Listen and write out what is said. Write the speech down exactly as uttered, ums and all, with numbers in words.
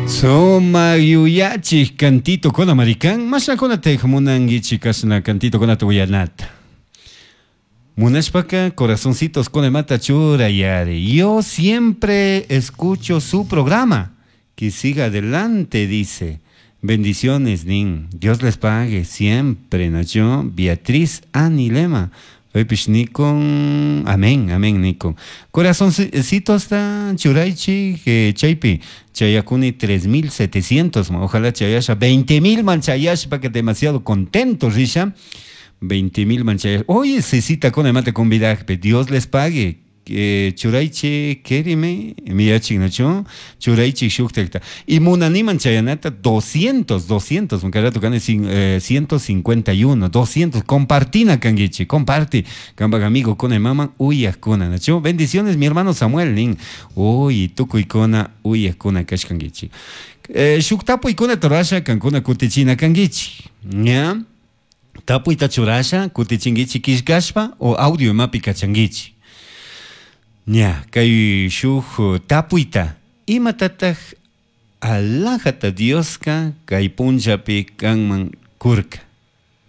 Sumak yuyachik cantito kuna marikan mashnakunata munankichik kashna cantito kunata uyanata. Munashpaka corazoncitos kunamata churayari. Yo siempre escucho su programa. Que siga adelante, dice. Bendiciones, nin. Dios les pague siempre, Nacho. Beatriz Anilema. Paypish nikun, amén, amén nikun. Corazoncitos ta churaychik eh, chaypi chayakuni tres mil setecientos, ojalá chayasha veinte mil man chayashpa que demasiado contento risha. veinte mil man chayasha. Oye, Cecita con mate convidajpe, Dios les pague. Eh, churaychi kerime miyachik nacho churaychi shuktakta y munaniman chayanata doscientos, doscientos, munkarato kane sin, eh, ciento cincuenta y uno, doscientos, compartina kangichi, comparte kampak amigo kona mama uyakuna nacho. Bendiciones mi hermano Samuel nin, uy tukuykuna uyakuna kashkangichi. Eh, shuktapuykuna torasha kankuna kutichina kangichi, ña tapuyta churasha kutichingichi kishkashpa o audio imapi kachangichi. Ña, kay shuk tapuyta, imatataq alajata Dioska kay punllapi kanman kurka.